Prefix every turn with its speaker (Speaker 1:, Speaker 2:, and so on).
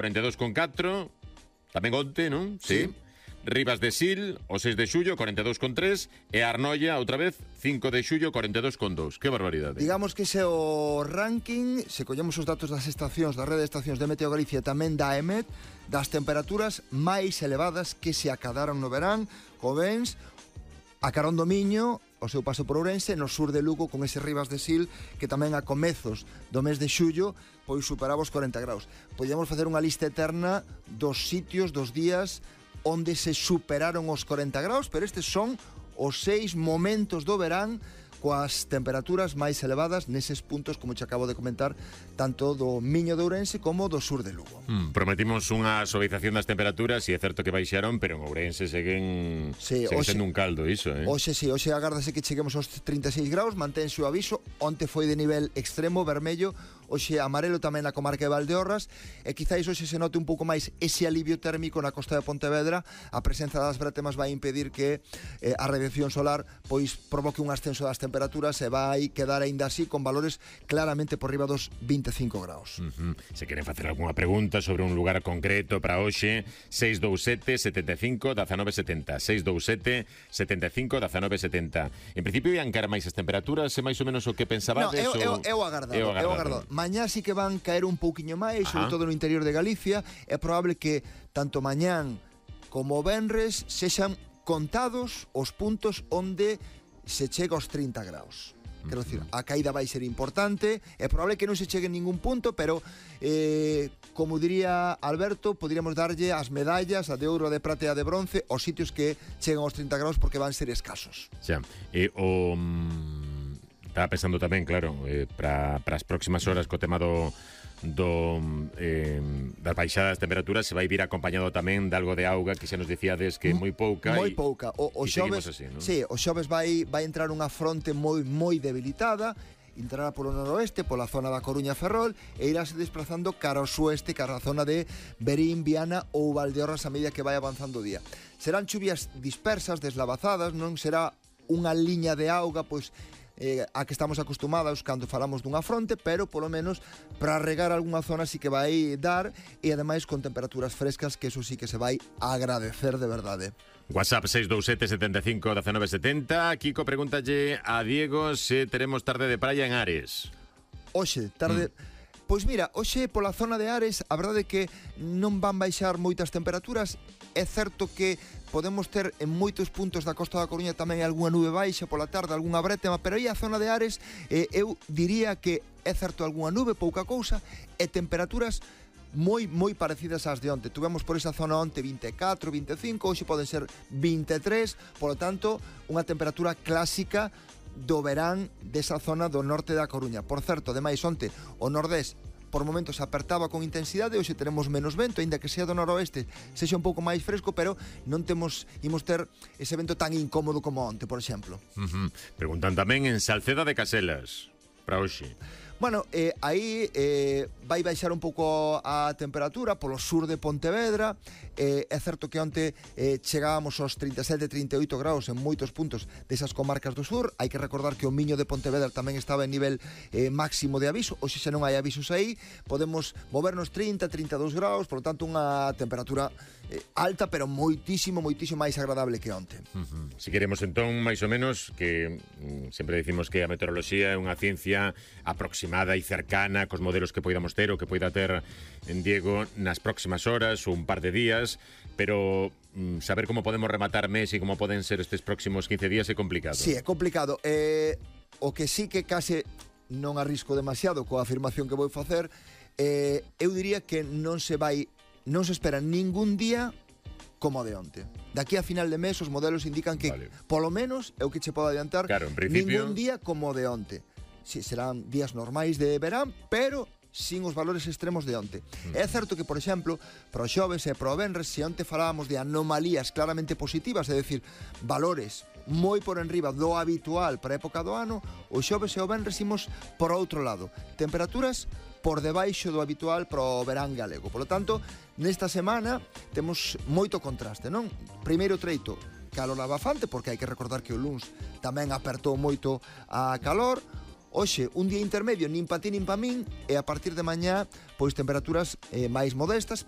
Speaker 1: 42,4, tamén onte, non?
Speaker 2: Sí.
Speaker 1: Rivas de Sil, o 6 de xullo, 42,3, e Arnoia, outra vez, 5 de xullo, 42,2. Que barbaridade.
Speaker 2: Digamos que ese é o ranking, se collemos os datos das estacións, da rede de estacións de Meteo Galicia, tamén da EMET, das temperaturas máis elevadas que se acadaron no verán, como vens, a carón do Miño, o seu paso por Ourense, no sur de Lugo, con ese Rivas de Sil, que tamén a comezos do mes de xullo, pois superaba os 40 graus. Podíamos facer unha lista eterna dos sitios, dos días, onde se superaron os 40 graus, pero estes son os 6 momentos do verán coas temperaturas máis elevadas neses puntos, como te acabo de comentar, tanto do Miño de Ourense como do sur de Lugo.
Speaker 1: Prometimos unha suavización das temperaturas e é certo que baixaron, pero en Ourense seguen sendo un caldo iso,
Speaker 2: Hoxe agárdase que cheguemos aos 36 graus, mantense o aviso, onte foi de nivel extremo, vermello, hoxe amarelo tamén na comarca de Valdeorras, e quizáis hoxe se note un pouco máis ese alivio térmico na costa de Pontevedra. A presenza das brétemas vai impedir que a radiación solar pois provoque un ascenso das temperaturas e vai quedar aínda así con valores claramente por riba dos 25 graus.
Speaker 1: Se queren facer algunha pregunta sobre un lugar concreto para hoxe, 627 75 19 70, 627 75 19 70. En principio ian caer máis as temperaturas, é máis ou menos o que pensabades?
Speaker 2: É o agardado. Mañá sí que van caer un pouquiño máis, sobre todo no interior de Galicia. É probable que tanto mañán como o venres sexan contados os puntos onde se chega aos 30 graus. Quero dicir, a caída vai ser importante. É probable que non se chegue en ningún punto, pero como diría Alberto, poderíamos darlle as medallas, a de ouro, a de prata e a de bronce, aos sitios que chegan aos 30 graus, porque van ser escasos.
Speaker 1: Xa, estaba pensando tamén, claro, para as próximas horas co tema das baixadas temperaturas se vai vir acompañado tamén de algo de auga, que xa nos dicíades que moi pouca.
Speaker 2: Moi pouca. O xoves,
Speaker 1: así, ¿no?
Speaker 2: Sí, o xoves vai entrar unha fronte moi debilitada, entrará polo noroeste, pola zona da Coruña Ferrol, e irase desplazando cara ao sueste, cara a zona de Verín, Viana ou Valdeorras a medida que vai avanzando o día. Serán chuvias dispersas, deslavazadas, non será unha liña de auga, pois a que estamos acostumados cando falamos dunha fronte, pero polo menos para regar algunha zona sí que vai dar, e ademais con temperaturas frescas, que eso sí que se vai agradecer de verdade.
Speaker 1: WhatsApp 627 75 19 70. Kiko, pregúntalle a Diego se teremos tarde de praia en Ares.
Speaker 2: Hoxe, tarde... Pois mira, hoxe pola zona de Ares a verdade é que non van baixar moitas temperaturas. É certo que podemos ter en moitos puntos da Costa da Coruña tamén algunha nube baixa pola tarde, algunha brétema, pero aí a zona de Ares eu diría que é certo algunha nube, pouca cousa, e temperaturas moi parecidas ás de onte. Tuvemos por esa zona onte 24, 25, hoxe poden ser 23, polo tanto, unha temperatura clásica do verán desa zona do norte da Coruña. Por certo, ademais, onte o nordés por momentos apertaba con intensidade, hoxe teremos menos vento, aínda que sea do noroeste sexa un pouco máis fresco, pero non imos ter ese vento tan incómodo como onte, por exemplo.
Speaker 1: Preguntan tamén en Salceda de Caselas para hoxe.
Speaker 2: Bueno, aí vai baixar un pouco a temperatura polo sur de Pontevedra. É certo que onte chegábamos aos 37-38 graus en moitos puntos desas comarcas do sur. Hai que recordar que o Miño de Pontevedra tamén estaba en nivel máximo de aviso. Hoxe xa non hai avisos aí. Podemos movernos 30-32 graus, por lo tanto unha temperatura alta, pero moitísimo máis agradable que onte.
Speaker 1: Si queremos entón, máis ou menos, que sempre dicimos que a meteoroloxía é unha ciencia aproximada e cercana cos modelos que poidamos ter ou que poida ter en Diego nas próximas horas ou un par de días, pero saber como podemos rematar mes e como poden ser estes próximos 15 días é complicado.
Speaker 2: Sí, é complicado. O que sí que case non arrisco demasiado coa afirmación que vou facer, eu diría que non se espera ningún día como de onte. Daqui a final de mes os modelos indican que polo menos é o que che podo adiantar,
Speaker 1: en principio,
Speaker 2: ningún día como de onte. Sí, serán días normais de verán, pero sin os valores extremos de onte. É certo que, por exemplo, pro xoves e pro venres, se onte falábamos de anomalías claramente positivas, é dicir, valores moi por enriba do habitual para a época do ano, o xoves e o venres imos por outro lado. Temperaturas por debaixo do habitual para o verán galego. Por lo tanto, nesta semana temos moito contraste, non? Primeiro treito, calor abafante, porque hai que recordar que o luns tamén apertou moito a calor. Hoxe, un día intermedio, nin pa ti nin pa min, e a partir de mañá, pois temperaturas máis modestas,